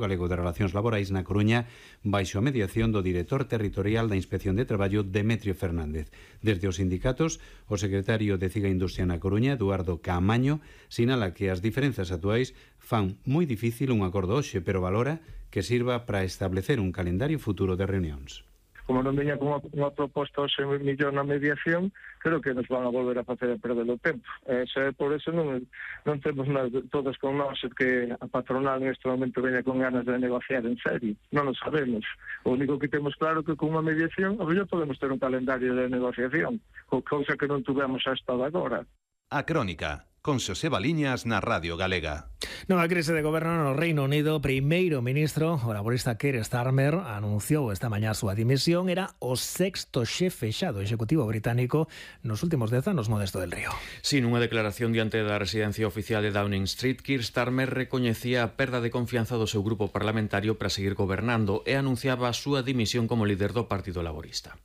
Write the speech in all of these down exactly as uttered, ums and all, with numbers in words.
Galego de Relacións Laborais na Coruña baixo a mediación do director territorial da Inspección de Traballo, Demetrio Fernández. Desde os sindicatos, o secretario de Ciga Industria na Coruña, Eduardo Caamaño, sinala que as diferenzas actuais fan moi difícil un acordo hoxe, pero valora que sirva para establecer un calendario futuro de reunións. Como non veña con unha proposta hoxe millón na mediación, creo que nos van a volver a facer a perder o tempo. E xa, por eso non, non temos nada, todos con nós que a patronal neste momento veña con ganas de negociar en serio. Non o sabemos. O único que temos claro que con unha mediación, a mellor podemos ter un calendario de negociación, cousa que non tuvemos hasta agora. A Crónica, con Xosé Baliñas na Radio Galega. Nova crise de goberno no Reino Unido. Primeiro ministro, o laborista Keir Starmer, anunciou esta mañá a súa dimisión. Era o sexto xefe xa do Executivo británico nos últimos dez anos, Modesto del Río. Sin unha declaración diante da residencia oficial de Downing Street, Keir Starmer recoñecía a perda de confianza do seu grupo parlamentario para seguir gobernando e anunciaba a súa dimisión como líder do Partido Laborista.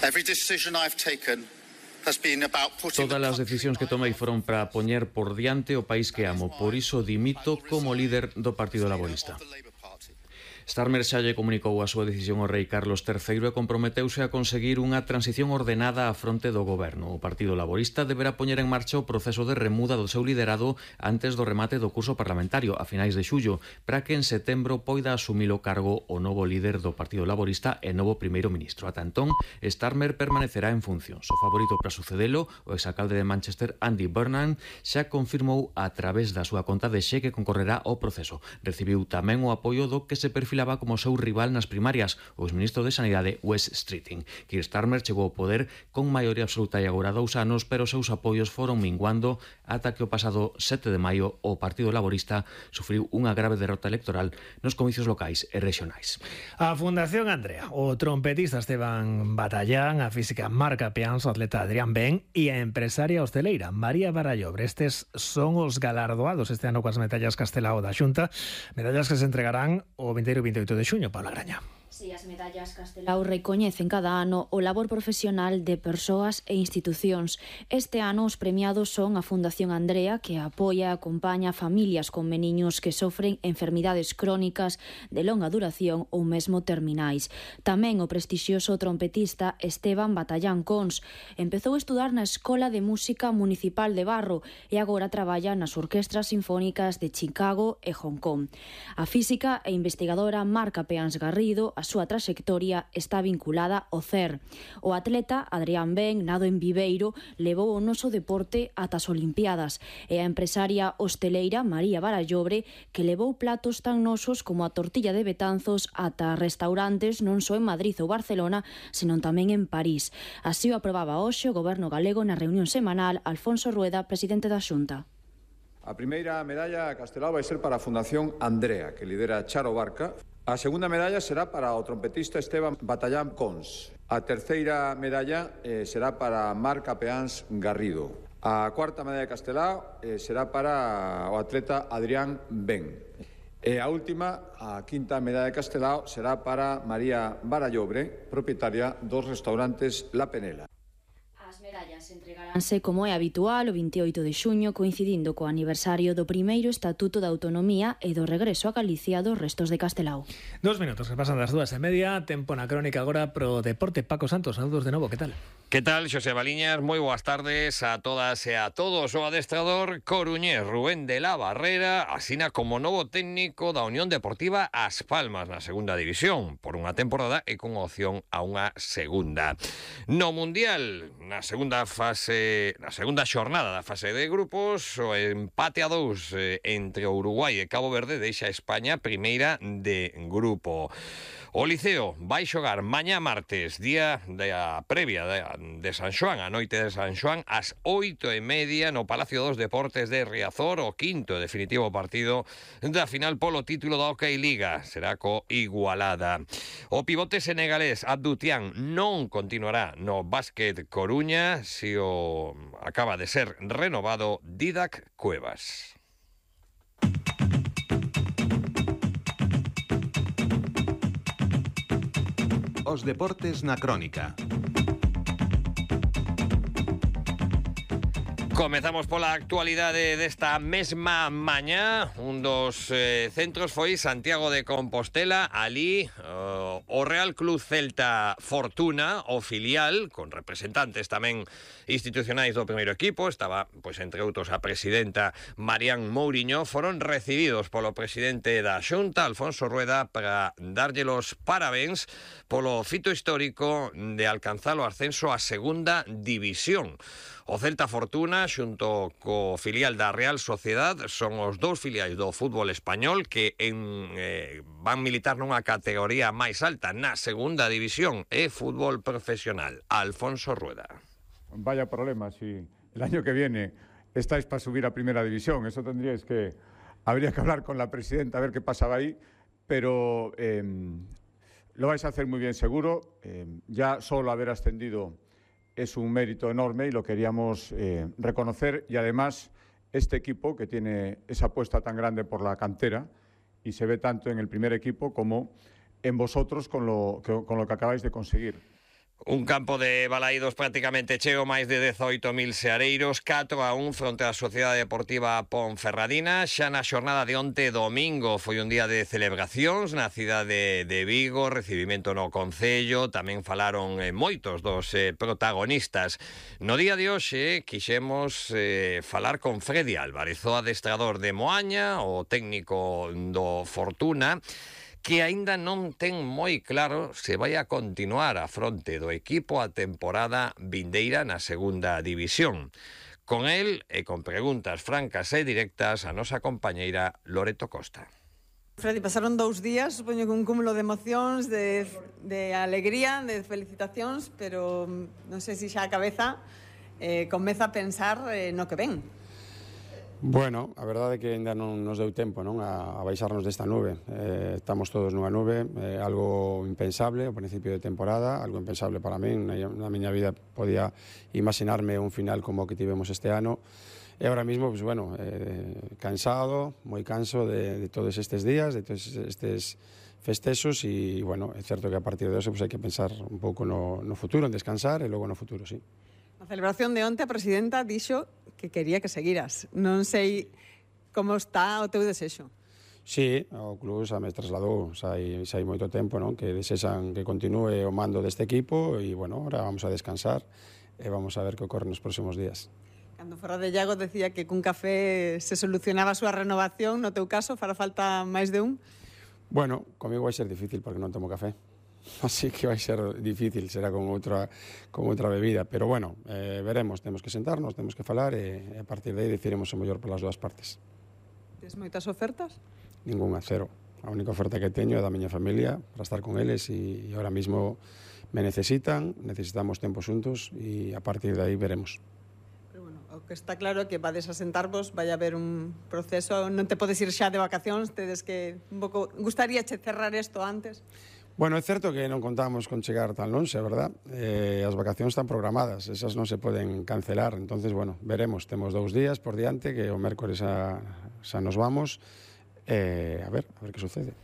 Every decision I've taken Todas as decisións que tomei foron para poñer por diante o país que amo, por iso dimito como líder do Partido Laborista. Starmer xa lle comunicou a súa decisión ao rei Carlos terceiro e comprometeuse a conseguir unha transición ordenada á fronte do goberno. O Partido Laborista deberá poñer en marcha o proceso de remuda do seu liderado antes do remate do curso parlamentario a finais de xullo, para que en setembro poida asumir o cargo o novo líder do Partido Laborista e novo primeiro ministro. Ata entón, Starmer permanecerá en funcións. O favorito para sucedelo, o exalcalde de Manchester, Andy Burnham, xa confirmou a través da súa conta de Xe que concorrerá ao proceso. Recibiu tamén o apoio do que se perfilaba como seu rival nas primarias, o exministro de Sanidade, Wes Streeting. Keir Starmer chegou ao poder con maioría absoluta e agora dous anos, pero os seus apoios foron minguando ata que o pasado sete de maio o Partido Laborista sufriu unha grave derrota electoral nos comicios locais e regionais. A Fundación Andrea, o trompetista Esteban Batallán, a física Marca Peans, o atleta Adrián Ben e a empresaria hosteleira María Barallobre. Estes son os galardoados este ano coas medallas Castelao da Xunta, medallas que se entregarán o vinteiro e vinteoito de xuño, Paula Graña. Si, as medallas Castelao recoñecen cada ano o labor profesional de persoas e institucións. Este ano os premiados son a Fundación Andrea, que apoia e acompaña familias con meniños que sofren enfermidades crónicas de longa duración ou mesmo terminais. Tamén o prestixioso trompetista Esteban Batallán Cons. Empezou a estudar na Escola de Música Municipal de Barro e agora traballa nas orquestras sinfónicas de Chicago e Hong Kong. A física e investigadora Marca Peans Garrido, a súa traxectoria está vinculada ao C E R. O atleta Adrián Ben, nado en Viveiro, levou o noso deporte ata as Olimpiadas, e a empresaria hosteleira María Barallobre, que levou platos tan nosos como a tortilla de Betanzos ata restaurantes non só en Madrid ou Barcelona, senón tamén en París. Así o aprobaba hoxe o Goberno galego na reunión semanal Alfonso Rueda, presidente da Xunta. A primeira medalla Castelao vai ser para a Fundación Andrea, que lidera Charo Barca. A segunda medalla será para o trompetista Esteban Batallán Cons. A terceira medalla eh, será para Marca Peans Garrido. A cuarta medalla de Castelao eh, será para o atleta Adrián Ben. E a última, a quinta medalla de Castelao, será para María Barallobre, propietaria dos restaurantes La Penela. As medallas entregaránse, como é habitual, o vinteoito de xuño, coincidindo co aniversario do primeiro Estatuto da Autonomía e do regreso a Galicia dos restos de Castelao. Dos minutos que pasan das dúas e media, tempo na crónica agora pro deporte. Paco Santos, saludos de novo, que tal? Que tal, Xosé Baliñas? Moi boas tardes a todas e a todos. O adestrador coruñés Rubén de la Barrera asina como novo técnico da Unión Deportiva As Palmas na segunda división por unha temporada e con opción a unha segunda. No Mundial, na segunda fase, na segunda xornada da fase de grupos, o empate a dous entre Uruguai e Cabo Verde deixa a España primeira de grupo. O Liceo vai xogar mañá martes, día da previa de, de San Xoán, a noite de San Xoán, ás oito e media no Palacio dos Deportes de Riazor, o quinto e definitivo partido da final polo título da Hockey Liga. Será co Igualada. O pivote senegalés Abdou Tiam non continuará no Básquet Coruña, si o acaba de ser renovado Didac Cuevas. Os deportes na crónica. Comezamos pola actualidade desta mesma mañá. Un dos eh, centros foi Santiago de Compostela. Ali uh, o Real Club Celta Fortuna, o filial, con representantes tamén institucionais do primeiro equipo, estaba, pois, entre outros, a presidenta Marián Mouriño, foron recibidos polo presidente da Xunta, Alfonso Rueda, para darlle los parabéns polo fito histórico de alcanzar o ascenso a segunda división. O Celta Fortuna, xunto co filial da Real Sociedad, son os dous filiais do fútbol español que en, eh, van militar nunha categoría máis alta, na segunda división, e fútbol profesional. Alfonso Rueda. Vaya problema, si el año que viene estáis para subir a primera división, eso tendríais que... Habría que hablar con la presidenta a ver qué pasaba ahí, pero eh, lo vais a hacer muy bien seguro. Eh, ya solo haber ascendido es un mérito enorme y lo queríamos eh, reconocer, y además este equipo que tiene esa apuesta tan grande por la cantera y se ve tanto en el primer equipo como en vosotros con lo que, con lo que acabáis de conseguir. Un campo de balaídos prácticamente cheo, máis de dezoito mil seareiros, catro a un fronte á Sociedade Deportiva Ponferradina. Xa na xornada de onte domingo foi un día de celebracións na cidade de Vigo, recibimento no Concello, tamén falaron eh, moitos dos eh, protagonistas. No día de hoxe quixemos eh, falar con Freddy Álvarez, o adestrador de Moaña, o técnico do Fortuna, que aínda non ten moi claro se vai a continuar a fronte do equipo a temporada vindeira na segunda división. Con el e con preguntas francas e directas a nosa compañeira Loreto Costa. Freddy, pasaron dous días, supoño que un cúmulo de emocións, de, de alegría, de felicitacións, pero non sei se xa a cabeza eh, comeza a pensar eh, no que ven. Bueno, a verdade é que ainda non nos deu tempo, non, a, a baixarnos desta nube. Eh, estamos todos nunha nube, eh, algo impensable ao principio de temporada, algo impensable para min. Na, na miña vida podía imaginarme un final como o que tivemos este ano. E agora mismo, pues, bueno, eh, cansado, moi canso de, de todos estes días, de todos estes festexos, e, bueno, é certo que a partir de eso pues, hai que pensar un pouco no, no futuro, en descansar, e logo no futuro, sí. Na celebración de onte a presidenta dixo que quería que seguiras. Non sei como está o teu desexo. Sí, o club xa me trasladou, xa hai, xa hai moito tempo, non? Que desexan que continúe o mando deste equipo, e, bueno, ahora vamos a descansar e vamos a ver que ocorre nos próximos días. Cando Ferrade Llago decía que cun café se solucionaba a súa renovación, no teu caso fará falta máis de un? Bueno, comigo vai ser difícil porque non tomo café. Así que vai ser difícil, será con outra con outra bebida, pero bueno, eh, veremos, temos que sentarnos, temos que falar e, e a partir de aí decidiremos o mellor polas dúas partes. Tes moitas ofertas? Ninguna, cero. A única oferta que teño é da miña familia para estar con eles, e, e ahora mismo me necesitan, necesitamos tempo xuntos, e a partir de aí veremos. Pero bueno, o que está claro é que vades a sentarvos, vai haber un proceso, non te podes ir xa de vacacións, tedes que un pouco, gustaría che cerrar isto antes. Bueno, é certo que non contamos con chegar tan lonxe, verdad? Eh, as vacacións están programadas, esas non se poden cancelar, entonces, bueno, veremos, temos dous días por diante, que o mércores xa, xa nos vamos, eh, a ver, a ver que sucede.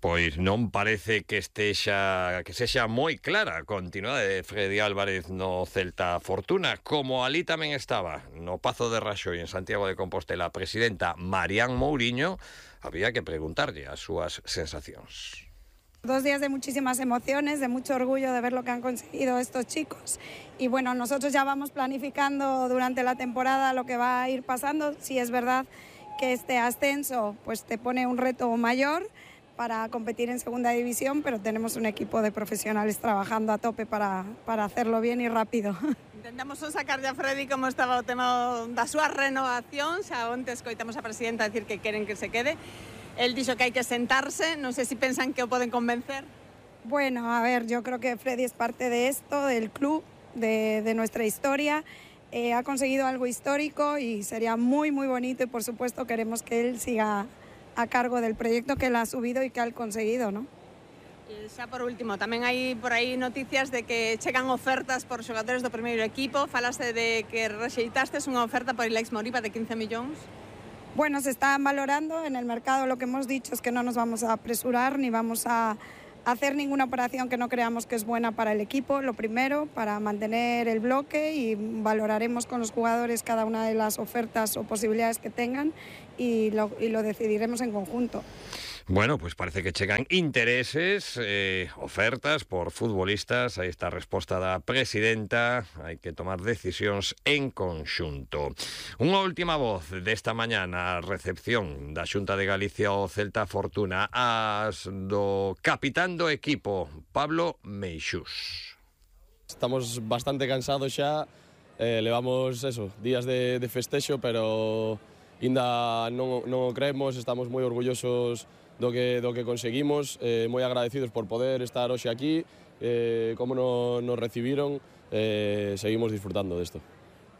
Pois non parece que estexa que sexa moi clara a continuidade de Freddy Álvarez no Celta Fortuna, como ali tamén estaba no Pazo de Raxoi en Santiago de Compostela a presidenta Marián Mouriño. Había que preguntarlle as súas sensacións. Dos días de muchísimas emociones, de mucho orgullo de ver lo que han conseguido estos chicos. Y bueno, nosotros ya vamos planificando durante la temporada lo que va a ir pasando. Si es verdad que este ascenso pues te pone un reto mayor para competir en segunda división, pero tenemos un equipo de profesionales trabajando a tope para, para hacerlo bien y rápido. Intentamos sacar ya a Freddy como estaba o tema da súa renovación. Xa onte escoitamos a presidenta decir que queren que se quede. Él dixo que hai que sentarse, non sei se pensan que o poden convencer. Bueno, a ver, yo creo que Freddy es parte de esto, del club, de, de nuestra historia. Eh, ha conseguido algo histórico y sería muy, muy bonito, y por supuesto queremos que él siga a cargo del proyecto que él ha subido y que ha conseguido, ¿no? E xa por último, tamén hai por aí noticias de que chegan ofertas por xogadores do primeiro equipo. Falaste de que rexeitastes unha oferta por Ilex Moriba de quince millóns. Bueno, se están valorando en el mercado. Lo que hemos dicho es que no nos vamos a apresurar ni vamos a, hacer ninguna operación que no creamos que es buena para el equipo, lo primero, para mantener el bloque, y valoraremos con los jugadores cada una de las ofertas o posibilidades que tengan y lo, y lo decidiremos en conjunto. Bueno, pues parece que chegan intereses, eh, ofertas por futbolistas. Aí está a resposta da presidenta. Hai que tomar decisións en conxunto. Unha última voz desta mañá na recepción da Xunta de Galicia ao Celta Fortuna, as do capitán do equipo, Pablo Meixús. Estamos bastante cansados xa, eh, levamos eso, días de, de festexo, pero ainda non, non o creemos, estamos moi orgullosos do que, do que conseguimos, eh, moi agradecidos por poder estar hoxe aquí, eh, como no, nos recibiron, eh, seguimos disfrutando desto.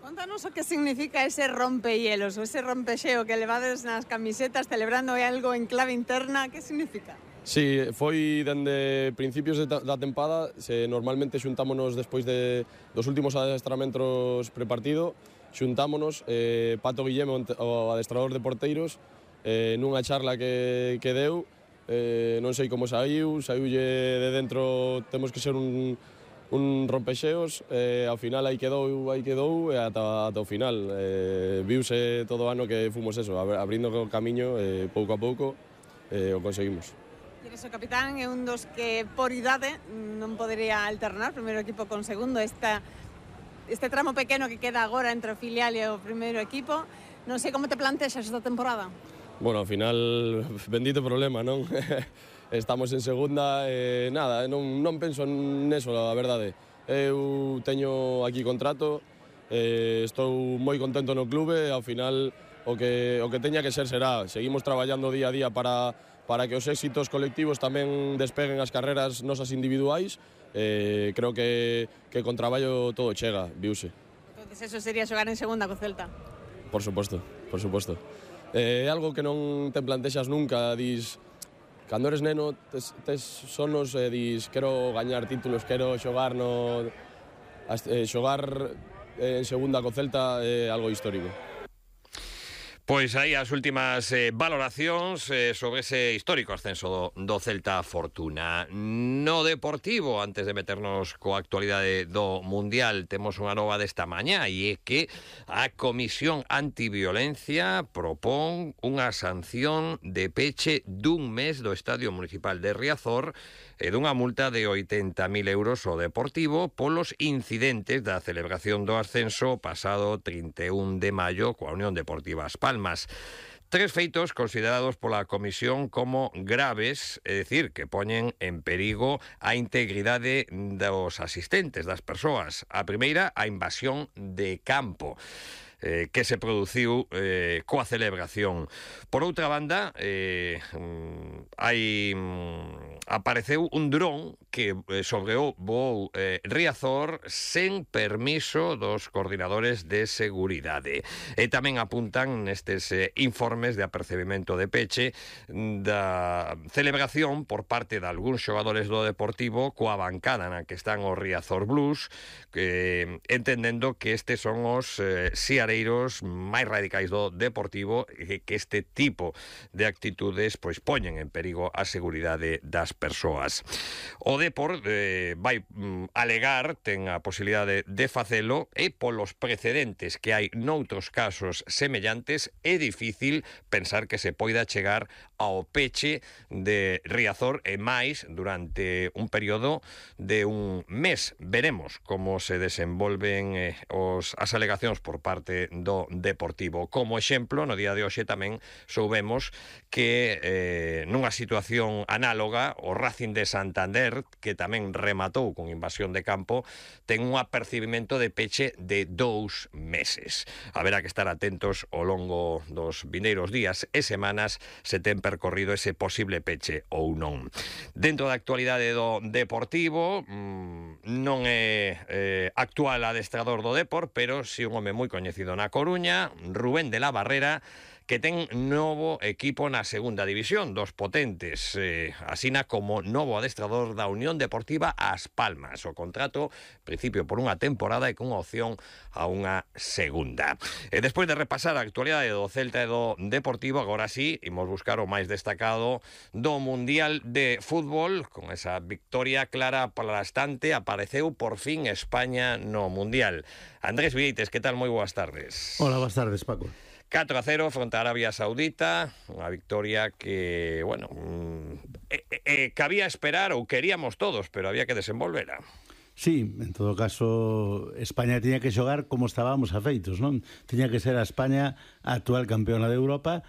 Contanos o que significa ese rompehielos, o ese rompexeo que levades nas camisetas celebrando algo en clave interna, que significa? Sí, foi dende principios de da tempada, se normalmente xuntámonos despois de, dos últimos adestramentos prepartido, xuntámonos, eh, Pato Guilleme, o adestrador de porteiros, eh, nunha charla que, que deu, eh, non sei como saiu, saiulle de dentro, temos que ser un, un rompexeos, eh, ao final aí quedou, aí quedou, e ata, ata o final, eh, viuse todo o ano que fomos eso, abrindo o camiño, eh, pouco a pouco, eh, o conseguimos. Eres o capitán, é un dos que por idade non podería alternar primeiro equipo con segundo, esta, este tramo pequeno que queda agora entre o filial e o primeiro equipo. Non sei como te plantexas esta temporada. Bueno, ao final, bendito problema, non? Estamos en segunda, e nada, non, non penso neso, a verdade. Eu teño aquí contrato, eh, estou moi contento no clube, ao final o que, o que teña que ser será. Seguimos traballando día a día para, para que os éxitos colectivos tamén despeguen as carreras nosas individuais. Eh, creo que, que con traballo todo chega, viuse. Entonces eso sería xogar en segunda co Celta? Por suposto, por suposto. É eh, algo que non te plantexas nunca, dis, cando eres neno, tes, tes sonos e dis, quero gañar títulos, quero xogar no... Eh, xogar en segunda co Celta é algo histórico. Pois aí as últimas eh, valoracións eh, sobre ese histórico ascenso do, do Celta Fortuna. No deportivo, antes de meternos coa actualidade do Mundial, temos unha nova desta mañá, e é que a Comisión Antiviolencia propón unha sanción de peche dun mes do Estadio Municipal de Riazor e dunha multa de oitenta mil euros ao Deportivo polos incidentes da celebración do ascenso pasado trinta e un de maio coa Unión Deportiva As Palmas. Tres feitos considerados pola Comisión como graves, é dicir, que poñen en perigo a integridade dos asistentes, das persoas. A primeira, a invasión de campo. Eh, que se produciu eh, coa celebración. Por outra banda, eh, hai apareceu un dron que eh, sobrevoou eh, Riazor sen permiso dos coordinadores de seguridade. E tamén apuntan nestes eh, informes de apercebimento de peche da celebración por parte de algúns xogadores do Deportivo coa bancada na que están os Riazor Blues, que, entendendo que estes son os eh, siareiros máis radicais do Deportivo, e que este tipo de actitudes pois poñen en perigo a seguridade das persoas. O Depor eh, vai mm, alegar, ten a posibilidade de facelo, e polos precedentes que hai noutros casos semellantes é difícil pensar que se poida chegar ao peche de Riazor e máis durante un período de un mes. Veremos como se desenvolven eh, os, as alegacións por parte do Deportivo. Como exemplo, no día de hoxe tamén soubemos que eh, nunha situación análoga o Racing de Santander, que tamén rematou con invasión de campo, ten un apercibimento de peche de dous meses. Haberá que estar atentos ao longo dos vindeiros días e semanas se ten percorrido ese posible peche ou non. Dentro da actualidade do Deportivo, mmm, non é eh, actual adestrador do Depor, pero si un home moi coñecido na Coruña, Rubén de la Barrera, que ten novo equipo na segunda división, dos potentes, eh, asina como novo adestrador da Unión Deportiva As Palmas. O contrato, principio por unha temporada e con opción a unha segunda. E despois de repasar a actualidade do Celta e do Deportivo, agora sí, imos buscar o máis destacado do Mundial de Fútbol. Con esa victoria clara aplastante, apareceu por fin España no Mundial. Andrés Vieites, que tal? Moi boas tardes. Hola, boas tardes, Paco. catro a cero fronte a Arabia Saudita, unha victoria que, bueno, eh, eh, cabía esperar, ou queríamos todos, pero había que desenvolvera. Sí, en todo caso, España tiña que xogar como estábamos afeitos, non? Tiña que ser a España a actual campeona de Europa